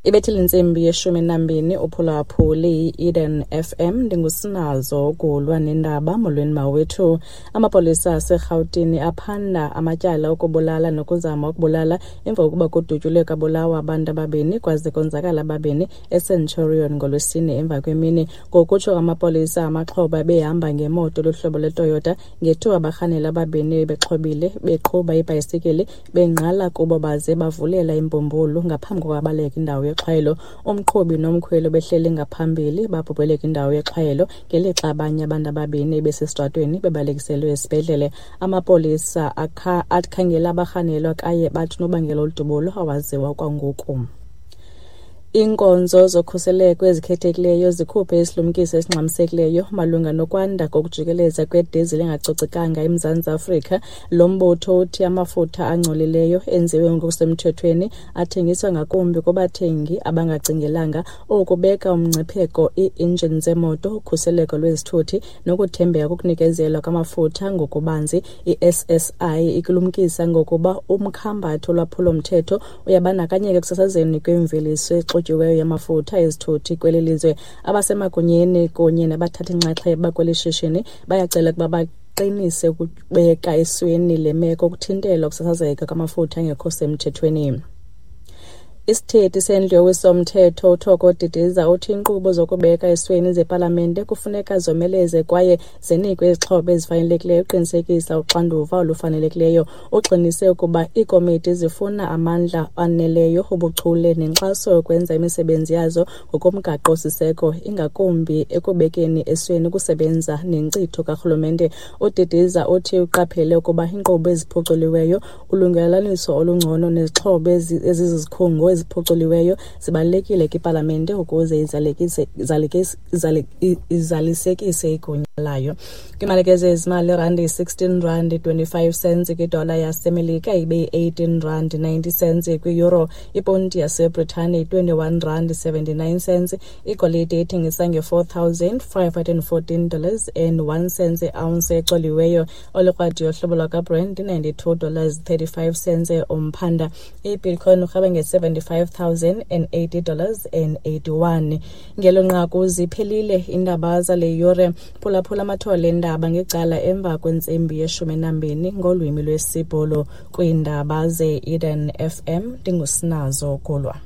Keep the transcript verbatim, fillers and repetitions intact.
Ibethile intsimbi yeshumi nambini uphulaphuli i-Eden F M, ndingusinazo ukulwa nendaba. Molweni mawethu. Amapolisa aseRhawutini aphanda amatyala okubulala nokuzama ukubulala emva kokuba kudutyulwe kabulawa abantu ababini kwaze konzakala ababini eCenturion ngoLwesine emva kwemini. Ngokutsho kwamapolisa, amaxhoba behamba ngemoto luhlobo lweToyota ngethuba abarhanela ababini bexhobile beqhuba ibhayisikili bengqala kubo baze bavulela imbumbulu ngaphambi kokubaleka indawo yexhwayelo. Umqhubi nomkhweli behleli ngaphambili babhubhele kwindawo yexhwayelo ngelixa abanye abantu ababini besesitratweni bebalekiselwe esibhedlele. Amapolisa akhangela abarhanelwa kwaye bathi unobangela woludubulo awaziwa kwangoku. Iinkonzo zokhuseleko ezikhethekileyo zikhuphe isilumkiso esingxamisekileyo malunga nokwanda kokujikeleza kwedizili engacocekanga eMzantsi Afrika. Lo mbutho uthi amafutha angcolileyo enziwe ngokusemthethweni athengiswa ngakumbi kubathengi abangacingelanga. Oku kubeka umngcipheko ii-injini zemoto, ukhuseleko lwezithuthi nokuthembeka kokunikezelwa kwamafutha ngokubanzi. I-S S I ikulumkisa ngokuba umkhambatho wolwaphulo-mthetho uyabandakanyeka ekusasazeni kwemveliso exutyiweyo yamafutha ezithuthi kweli lizwe. Abasemagunyeni kunye nabathathi-nxaxheba kweli shishini bayacela ukuba baqinise ukubeka esweni le meko ukuthintela ukusasazeka kwamafutha angekho semthethweni. Isithethi sendlu yowiso-mthetho uThoko Didiza uthi iinkqubo zokubeka esweni zepalamente kufuneka zomeleze kwaye zinikwe izixhobo ezifanelekileyo ukuqinisekisa uxanduva olufanelekileyo. Ugxinise ukuba iikomiti zifuna amandla aneleyo, ubuchule nenkxaso yokwenza imisebenzi yazo ngokomgaqo-siseko, ingakumbi ekubekeni esweni ukusebenza nenkcitho karhulumente. UDidiza uthi uqaphele ukuba iinkqubo eziphuculiweyo, ulungelelaniso olungcono nezixhobo ezizizikhungo eziphuculiweyo zibalulekile kwipalamente ukuze izalekise, izalekise, izalisekise igunya layo. Kwimalike zezimali, irandi yi-sixteen rand twenty-five cents kwidola yaseMelika, ibe yi-eighteen rand ninety cents kwi-euro. Iponti yaseBritane yi-twenty-one rand seventy-nine cents. Igolide ithengisa nge-four thousand five hundred and fourteen dollars and one cent i-ounce ecoliweyo. Olukrwadi yohlobo lwakaBrent ninety-two dollars thirty-five cents umphanda. I-Bitcoin urhweba nge-seventy-five thousand and eighty dollars and eighty-one. Ngelo nqaku ziphelile iindaba zale yure. Phulaphula amathole endaba ngecala emva kwentsimbi yeshumi nambini ngolwimi lwesiBhulu kwiindaba ze-Eden F M. Ndingusinazo Gulwa.